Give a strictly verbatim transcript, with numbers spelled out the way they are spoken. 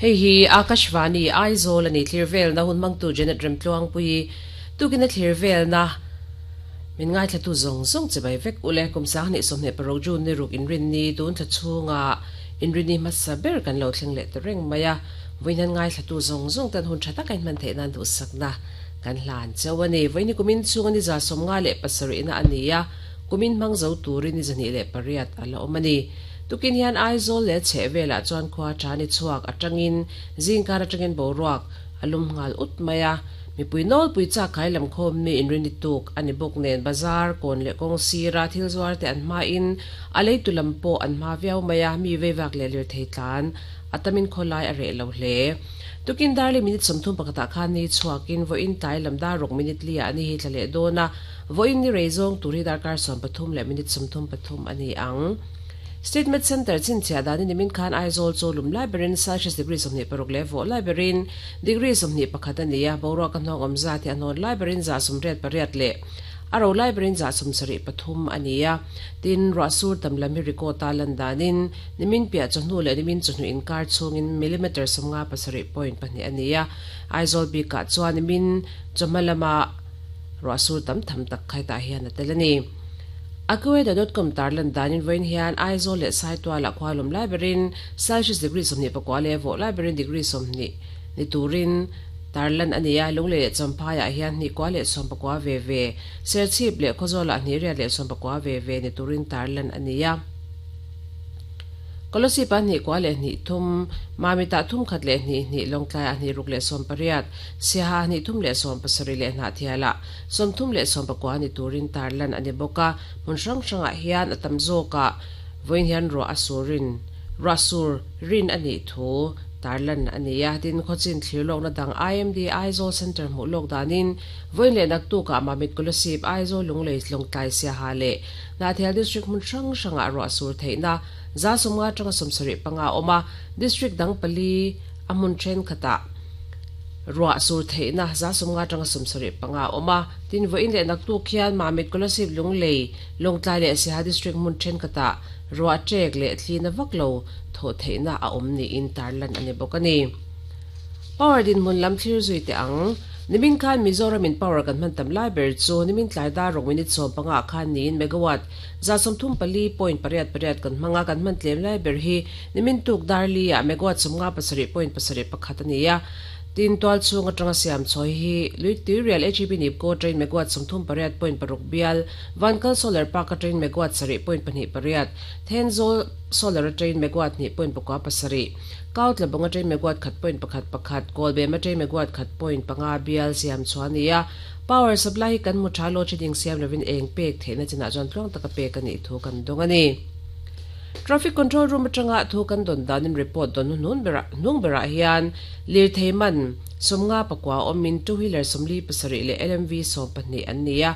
Hei hi Akashvani Aizawl ani thlir vel na hun mangtu Janet Remtluang pui tukina thlir vel na min ngai thlatu zong zong che bai vek ule kum sang ni somne parok jun ni ruk in rin ni tun tha chunga in rin ni masa ber kan lo thleng le tereng maya voinan ngai thlatu zong zong tan hun thata kain man the nan du sakna kan hlan chawani voini kumin chunga ni za somnga le pasari na ania kumin mang zo turin ni zani le pariat ala omani tukin hian Aizawl le chhevela chuan khwa thani chuak atangin zingkar atangin boruak alum ngal ut maya mi puinol puicha khai lam khom mi inrini tuk ani bok nen bazar kon le kong sira thil zuar te an ma in alei tulam po an ma viau maya mi vewak le lir thei tlan atamin kholai are lo hle tukin darli minute somthum pakata khan ni chuakin vo in tai lamda rok minute lia ani hi thlale dona vo in ni reizong turi darkar som pathum le minute somthum pathum ani ang Statement Center chin chia dani nimin khan Aizawl cholum library Celsius degree somni paruk le vo library degree somni pakhat ania boro ka hnong omza ti anon library za sumret pariat le aro library za sumsari pathum ania tin rasur tamlami record talan danin nimin pia chonu le nimin chonu in kar chungin millimeter somnga pasari point pani ania Aizawl bi ka chuan nimin chomalama rasur tam tham tak khai ta hian atelani Akweda dot com tarlan danin voin hian Aizawl le saitwa la khwalum library Celsius degree somni pakwa le vo library degree somni ni turin tarlan ania lungle champhaya hian ni kwa le som pakwa ve ve serchip le khozola ni ria le som pakwa ve ve ni turin tarlan ania Kolosi pan ni kwa le ni thum mamita thum khat le ni ni longtlai ani ruk le som pariat siha ni thum le som pasari le na thiala som thum le som pakwa ni turin tarlan ani boka mun rang ranga hian atam zoka voin hian ro asurin rasur rin ani thu tarlan ania tin khochin thlirlok na dang I M D Aizawl Center mu lok danin voin le nak tu ka mamit kolosip Aizawl lunglei longtlai siha le na thial district mun rang ranga ro asur theina za somnga tanga somsari panga oma district dang pali amun then khata ruwa sur theina za somnga tanga somsari panga oma tin vo in le nak tu khian mamit kolosip lunglei longtlai le siha district mun then khata ruwa trek le thlina vaklo tho theina a omni in tarlan ani bokani power din mun lam thlir zui te ang nimin khan Mizoram in power kan man tam library chu nimin tlai da rok minute som panga khan nin megawatt za som thum pali point pariat pariat kan manga kan man tlem library hi nimin tuk darli a megawatt somnga pasari point pasari pakhat ania tin twal chung atanga siam choi hi lui real H E B nip ko train megawatt somthum pariat point paruk bial vankal solar park train megawatt sari point pani pariat thenzol solar train megawatt ni point pakwa pasari kaut labonga train megawatt khat point pakhat pakhat kolbe ma train megawatt khat point panga bial siam chuania power supply kan mu thalo chiding siam lovin eng pek theina china jon tlong taka pek ani thu kan dongani Traffic control room atanga thu kan don danin report don nun bera nung bera hian lir theiman somnga pakwa omin two wheeler somli pasari le L M V som pahnih an nia